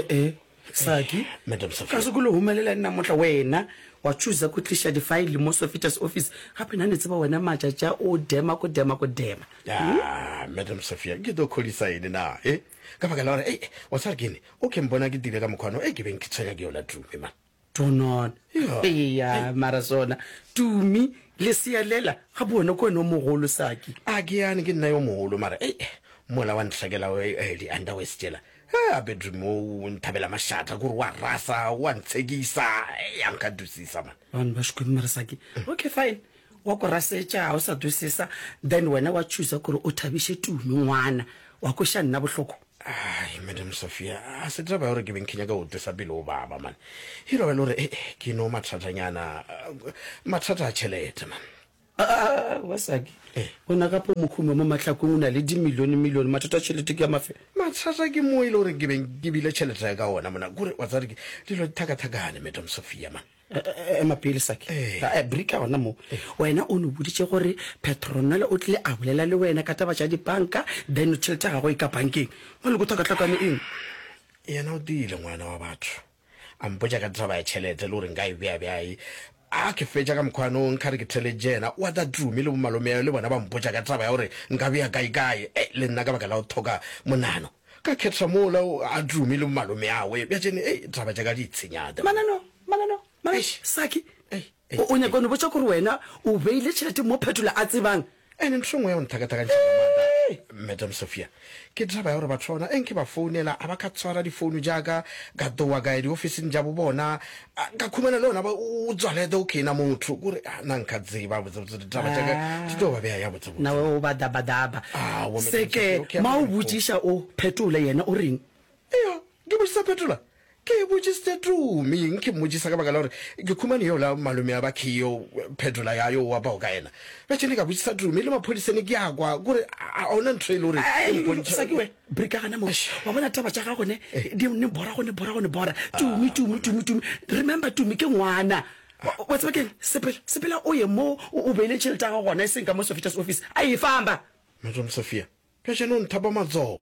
Eh, Saki. Madam Sophia. Ka se kule humelela nna motla wena wa choosa ku tliša di-file mo Sophita's office. Gape nna ne tseba wena matšatši a o dema ko dema ko dema. Ah, Madam Sophia, ke tlo khodisa ene na, eh? Ka baka la gore, ei, wa tseba ke ene, o ke mpona ke tile ka mokgwano, ei, ke beng ke tshwenya ke yola Tumi, man. Tonon. Ja. Eya, mara sona. Tumi, lesea lela, gape wena ke wena o mogolo, Saki. A ke yane ke nna yo mogolo, mara ei, mola wa ntlhakela eh, di-underwears tšela. He, a bedroom o nthabela mašata, kore wa rasa, wa ntshekisa, ei, a nka dusisa, man. Vanhu va Xikwembu mara Saki. Okay, fine. Wa ku rasetša, ga o sa dusisa, then wena wa choosa kore o thabiše Tumi ngwana, wa kweša nna bohloko. Ai, Madam Sophia, a se taba ya gore ke beng ke nyaka go twesa pele o baba, man. E no ba e le gore, eh, ke no mathatanyana, mathata a tšhelete, man. Aowa, Saki, wena gape o mohumi wa mo mahlakong, o na le dimilione-milione, mathata a tšhelete ke a mafe? Mathata ke mo e le gore ke beng ke bile tšhelete ya ka ona mona, kore wa tseba gore ke dilo di thakathakane, Madam Sophia, man. Ema pele, Saki. Eh, brika gona mo. Wena o no boditše gore Petronella o tlile a bolela le wena ka taba tša dipanka, then tšhelete ya gagwe e ka bankeng. Bjale go tlhakatlhakane eng? Yena o tiile ngwana wa batho. A mpotša ka taba ya tšhelete le gore nka e bea bjae. A ke fetša ka mokgwa no nka re ke theletše yena, wa tla Tumi le bomalome le bona ba mpotša ka taba ya gore nka bea kae-kae. Ei, le nna ka baka la go thoka monano ka kgetha mola a Tumi le bomalome awe. Bja tšene, ei, taba tša ka di itshenyate. Manano, manano, manano, Saki, o nyaka go no botša gore wena o beile tšhelete mo Phetola a tsebang? Ene ntho e nngwe ya go nthakathakantšha ka maatla, Madam Sophia, ke taba ya gore batho ba bona e nke ba founela a ba ka tshwara difounu tša ka, ka tlowa ka ya diofising tša bo bona, ka khumana le ona ba o tswalete o khena motho, kore na nka tseba botsebotse ditaba tša ka di tlo ba bea ya botsebotse. Na o ba dabadaba. Aowa, Madam Se ke Sophia, okay, ma o botšiša o Phetola yena o reng? Eya, ke botšisa Phetola. Ke botšisitse Tumi, nke mmotšisa ka baka la gore ke khumane yola malome a ba Khio Phetola ya yo wa bao ka yena. Bjale ka botšisa Tumi le maphodisene ke a kwa kore a ona ntho e le gore e mpontšha. Saki we, brika gana mo. Wa bona taba tša gago ne di ne bora go ne bora go ne bora. Tumi, Tumi, Tumi, Tumi. Remember Tumi ke ngwana. Wa tseba keng? Sepela, sepela o ye mo o beile tšhelete ya gago gona e seng ka mo Sofitas office. A e famba. Madam Sophia, bjale o nthapa matsogo.